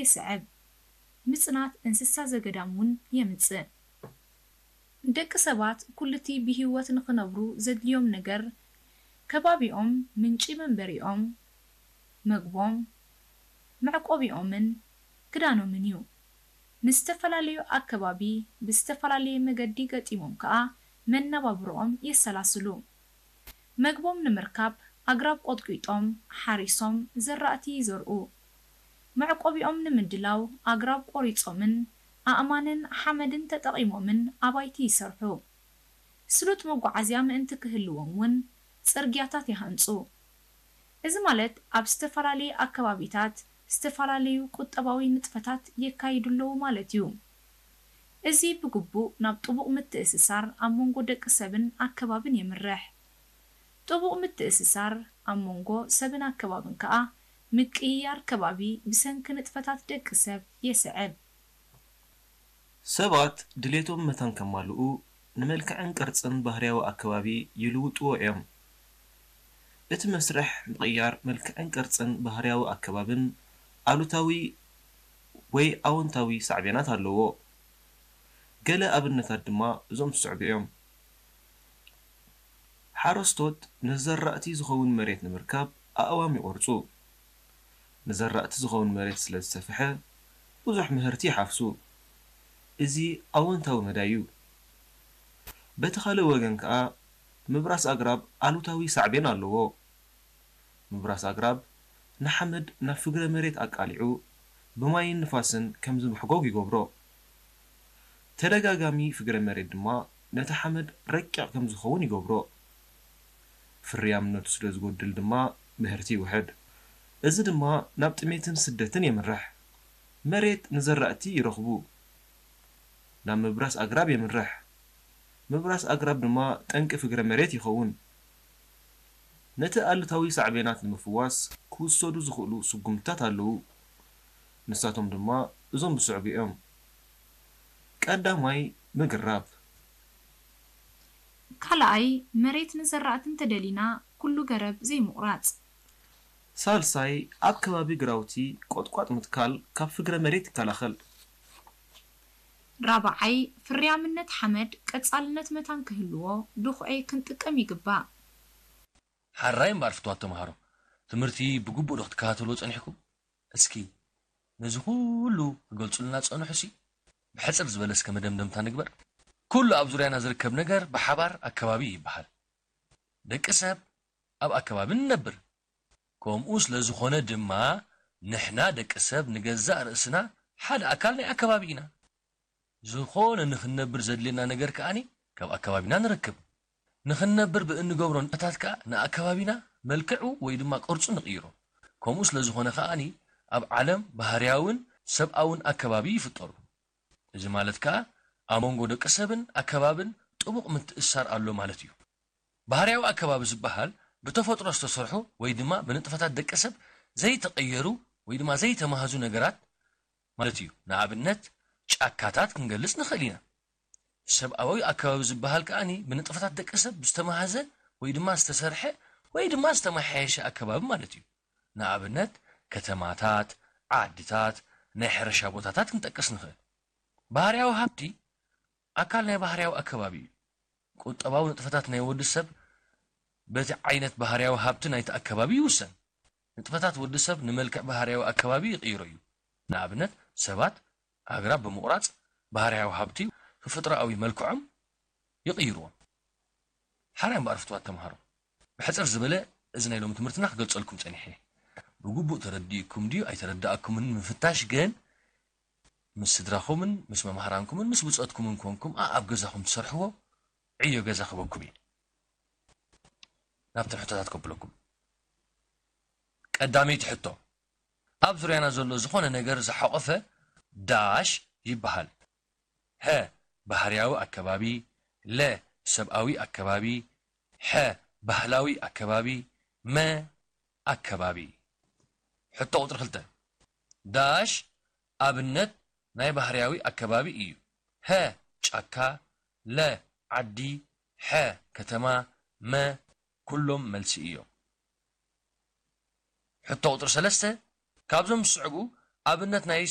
የስዕብ። ምጽናት እንስሳ ዘገዳም እውን የምጽእ። ደቂ ሰባት ኩሉቲ ብህይወት ንኽነብሩ ዘድልዮም ነገር፣ ከባቢኦም ምንጪ መንበሪኦም፣ መግቦም፣ መዕቆቢኦምን ክዳኖምን እዩ። ንዝተፈላለዩ ኣከባቢ ብዝተፈላለየ መገዲ ገጢሞም ከኣ መነባብሮኦም የሰላስሉ። መግቦም ንምርካብ ኣግራብ ቆጥቂጦም፣ ሓሪሶም፣ ዘራእቲ ይዘርኡ። መዕቆቢኦም ንምድላው ኣግራብ ቆሪጾምን ኣእማንን ሓመድን ተጠቒሞምን ኣባይቲ ይሰርሑ። ስሉጥ መጓዓዝያ ምእንቲ ክህልዎም እውን ጽርግያታት ይሃንጹ። እዚ ማለት ኣብ ዝተፈላለየ ኣከባቢታት ዝተፈላለዩ ቁጠባዊ ንጥፈታት የካይዱ ኣለዉ ማለት እዩ። እዚ ብግቡእ ናብ ጥቡቕ ምትእስሳር ኣብ መንጎ ደቂ ሰብን ኣከባብን የምርሕ። ጥቡቕ ምትእስሳር ኣብ መንጎ ሰብን ኣከባብን ከኣ ምቅይያር ከባቢ ብሰንኪ ንጥፈታት ደቂ ሰብ የስዕብ። ሰባት ድሌቶም መታን ከማልኡ ንመልክዕን ቅርጽን ባህርያዊ ኣከባቢ ይልውጥዎ እዮም። እቲ መስርሕ ምቕያር መልክዕን ቅርጽን ባህርያዊ ኣከባብን ኣሉታዊ ወይ ኣወንታዊ ሳዕቤናት ኣለዎ። ገለ ኣብነታት ድማ እዞም ዝስዕቡ እዮም። ሓረስቶት ንዘራእቲ ዝኸውን መሬት ንምርካብ ኣእዋም ይቖርጹ። ንዘራእቲ ዝኸውን መሬት ስለ ዝሰፍሐ፣ ብዙሕ ምህርቲ ይሓፍሱ። እዚ ኣወንታዊ መዳይ እዩ። በቲ ካልእ ወገን ከኣ፣ ምብራስ ኣግራብ ኣሉታዊ ሳዕቤን ኣለዎ። ምብራስ ኣግራብ ንሓመድ ናብ ፍግረ መሬት ኣቃሊዑ ብማይን ንፋስን ከም ዝምሕጎግ ይገብሮ። ተደጋጋሚ ፍግረ መሬት ድማ ነቲ ሓመድ ረቂቕ ከም ዝኸውን ይገብሮ። ፍርያምነቱ ስለ ዝጎድል ድማ ምህርቲ ይውሕድ። እዚ ድማ ናብ ጥሜትን ስደትን የምርሕ። መሬት ንዘራእቲ ይረኽቡ ናብ ምብራስ ኣግራብ የምርሕ። ምብራስ ኣግራብ ድማ ጠንቂ ፍግረ መሬት ይኸውን። ነቲ ኣሉታዊ ሳዕቤናት ንምፍዋስ ክውሰዱ ዝኽእሉ ስጉምትታት ኣለዉ። ንሳቶም ድማ እዞም ዝስዕቡ እዮም። ቀዳማይ፣ ምግራብ። ካልኣይ፣ መሬት ንዘራእቲ እንተደሊና ኩሉ ገረብ ዘይምቑራጽ። ሳልሳይ፣ ኣብ ከባቢ ግራውቲ ቆጥቋጥ ምትካል ካብ ፍግረ መሬት ይከላኸል። ራብዓይ፣ ፍርያምነት ሓመድ ቀጻልነት መታን ክህልዎ ድኹዒ ክንጥቀም ይግባእ። ሓራይ እምበኣር ፍትዋት ተምሃሮ፣ ትምህርቲ ብግቡእ ዶ ክትከታተልዎ ጸኒሕኩም? እስኪ ነዚ ኩሉ ክገልጹልና ዝጸንሑሲ ብሕጽር ዝበለ እስከ መደምደምታ ንግበር። ኩሉ ኣብ ዙርያና ዝርከብ ነገር ብሓባር ኣከባቢ ይበሃል። ደቂ ሰብ ኣብ ኣከባቢ ንነብር። ከምኡ ስለ ዝኾነ ድማ ንሕና ደቂ ሰብ ንገዛእ ርእስና ሓደ ኣካል ናይ ኣከባቢ ኢና። ዝኾነ ንኽንነብር ዘድልየና ነገር ከኣ ካብ ኣከባቢና ንረክብ። ንኽንነብር ብእንገብሮ ንጥፈታት ከኣ ንኣከባቢና መልክዑ ወይ ድማ ቅርጹ ንቕይሮ። ከምኡ ስለ ዝኾነ ከኣ ኣብ ዓለም ባህርያውን ሰብኣውን ኣከባቢ ይፍጠሩ። እዚ ማለት ከኣ ኣብ መንጎ ደቂ ሰብን ኣከባብን ጥቡቕ ምትእስሳር ኣሎ ማለት እዩ። ባህርያዊ ኣከባቢ ዝበሃል ብተፈጥሮ ዝተሰርሑ ወይ ድማ ብንጥፈታት ደቂ ሰብ ዘይተቐየሩ ወይ ድማ ዘይተማህዙ ነገራት ማለት እዩ። ንኣብነት ጫካታት ክንገልጽ ንኽእል ኢና። ሰብኣዊ ኣከባቢ ዝበሃል ከኣ ብንጥፈታት ደቂ ሰብ ዝተማህዘ ወይ ድማ ዝተሰርሐ ወይ ድማ ዝተመሓየሸ ኣከባቢ ማለት እዩ። ንኣብነት ከተማታት፣ ዓድታት፣ ናይ ሕርሻ ቦታታት ክንጠቅስ ንኽእል። ባህርያዊ ሃብቲ ኣካል ናይ ባህርያዊ ኣከባቢ እዩ። ቁጠባዊ ንጥፈታት ናይ ወዲ ሰብ በቲ ዓይነት ባህርያዊ ሃብቲ ናይቲ ኣከባቢ ይውሰን። ንጥፈታት ወዲ ሰብ ንመልክዕ ባህርያዊ ኣከባቢ ይቕይሮ እዩ። ንኣብነት ሰባት ኣግራብ ብምቑራጽ ባህርያዊ ሃብቲ ተፈጥሮኣዊ መልክዖም ይቕይርዎም። ሓራይ እምበኣር ፍትዋት ተምሃሮ፣ ብሕጽር ዝበለ እዚ ናይ ሎሚ ትምህርትና ክገልጸልኩም ጸኒሐ። ብግቡእ ተረዲእኩም ድዩ ኣይተረዳእኩምን ንምፍታሽ ግን ምስ ስድራኹምን ምስ መምሃራንኩምን ምስ ብጾትኩምን ኮንኩም ኣኣብ ገዛኹም ትሰርሕዎ ዕዮ ገዛ ክበኩም እየ። ናብተን ሕቶታት ከብለኩም። ቀዳመይቲ ሕቶ፣ ኣብ ዙርያና ዘሎ ዝኾነ ነገር ዝሓቖፈ ዳሽ ይበሃል። ሀ፣ ባህርያዊ ኣከባቢ፣ ለ፣ ሰብኣዊ ኣከባቢ፣ ሐ፣ ባህላዊ ኣከባቢ፣ መ፣ ኣከባቢ። ሕቶ ቁጽሪ ክልተ፣ ዳሽ ኣብነት ናይ ባህርያዊ ኣከባቢ እዩ። ሀ፣ ጫካ፣ ለ፣ ዓዲ፣ ሐ፣ ከተማ፣ መ፣ ኩሎም መልሲ እዮም። ሕቶ ቁጽሪ ሰለስተ፣ ካብዞም ዝስዕቡ ኣብነት ናይ